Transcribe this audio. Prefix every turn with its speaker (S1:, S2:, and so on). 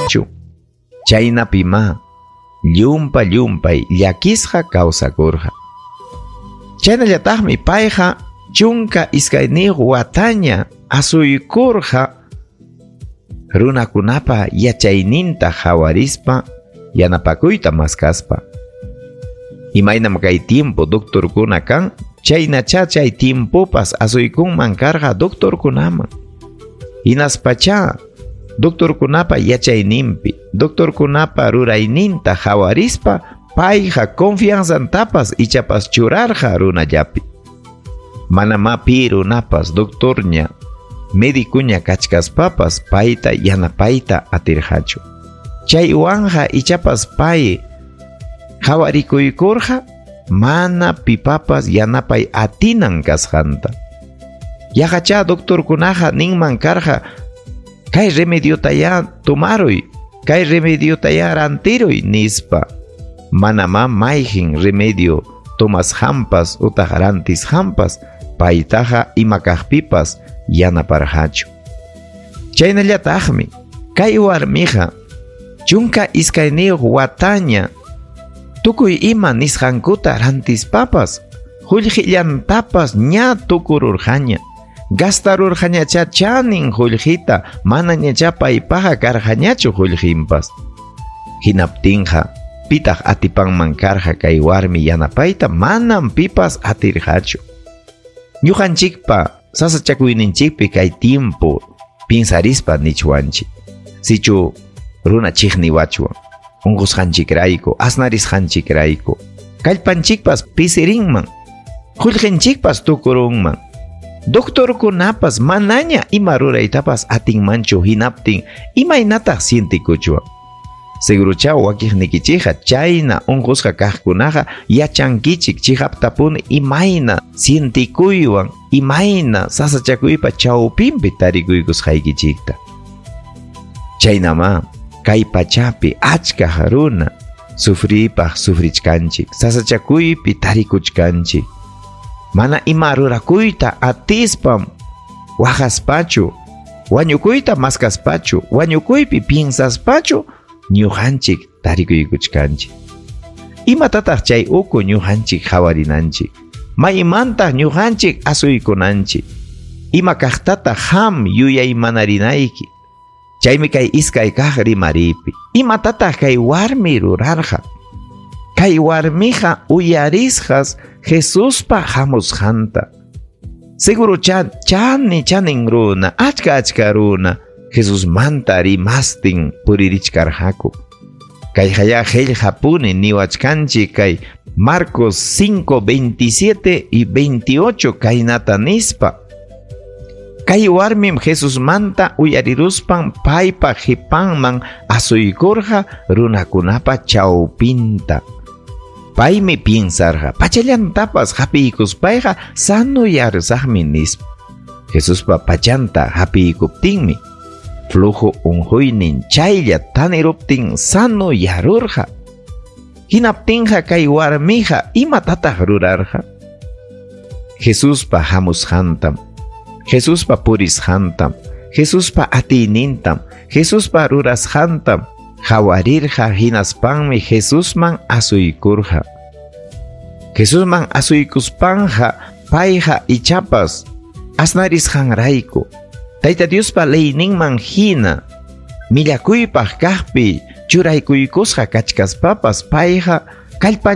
S1: Chu. Chaynapimá llumpa-llumpay llakisqa kawsakurqa. Chaynallataqmi payqa 12 wataña asuykurqa runakunapa yachayninta hawarispa yanapakuyta maskaspa. Imaynam kay tiempo doctorkuna kan, chaynacha chay tiempopas asuykunman karqa doctorkunaman. Hinaspacha doctorkunapa yachayninpi, doctorkunapa rurayninta hawarispa payqa confianzantapas ichapas churarqa runallapi. Manamá pi runapas doctorña, médicoña kachkaspapas payta yanapayta atirqachu. Chaywanja ichapas pay hawarikuykurqa mana pipapas yanapay atinan kasqanta. Yaqacha doctorkunaqa ninman karqa kay remediotayá tomaruy, kay remediotayá rantiruy nispa. Manamá mayqin remedio tomasqanpas utaq rantisqanpas paytaqa ima kaqpipas yanaparqachu. Chaynallataqmi kay warmiqa 12 wataña tukuy ima nisqankuta rantispapas qullqillantapas ña tukururqaña. Gastarurqañacha chanin qullqita, manañacha paypaqa karqañachu qullqinpas. Hinaptinqa pitaq atipanman karqa kay warmi yanapayta, manam pipas atirqachu. Ñuqanchikpa sasachakuyninchikpi kay tiempo pinsarispa nichwanchik. Sichu runa chiqniwachwan, unqusqanchikrayku, asnarisqanchikrayku, kallpanchikpas pisirinman, qullqinchikpas tukurunman. Doctorkunapas manaña ima ruraytapas atinmanchu hinaptin imaynataq sientikuchwan. Segurucha wakiqnikichikqa chayna unqusqa kaqkunaqa yachankichik chiqaptapuni imayna sientikuywan, imayna sasachakuypa chawpinpi tarikuykusqaykichikta. Chaynamá kay pachapi achka runa sufripaq sufrichkanchik, sasachakuypi tarikuchkanchik. Mana ima rurakuyta atispam waqaspachu, wañukuyta maskaspachu, wañukuypi piensaspachu ñuqanchik tarikuykuchkanchik. Imatataq chay uku ñuqanchik hawarinanchik? Maymantaq ñuqanchik asuykunanchik? Ima kaqtataq ham yuyaymanarинayki? Chaymi kay iskay kaq rimaripi. Imatataq kay warmi rurarqa? Kay warmiqa uyarisqas Jesuspa hamusqanta. Segurucha chani chanin runa, achka achka runa Jesusmanta rimastin puririchkarqaku. Kay haya qillqapuni niwachkanchik kay Marcos 5, 27 y 28 kaynata nispa. Kay warmim Jesusmanta uyariruspan paypa qipanman asuykurqa runakunapa chawpinta. Paymi piensarqa, pachallantapas hapiykuspayqa sanuyarusaqmi nispa. Jesuspa pachanta hapiykuptinmi flujo unquynin chaylla taniruptin sanuyarurqa. Hinaptinqa kay warmiqa imatataq rurarqa? Jesuspa hamusqantam, Jesuspa purisqantam, Jesuspa atiynintam, Jesuspa rurasqantam hawarirqa hinaspanmi Jesusman asuykurqa. Jesusman asuykuspanja payqa ichapas asnarisqanrayku Tayta Diospa leyninman hina millakuypaq kaqpi churaykuykusqa kachkaspapas payqa kallpan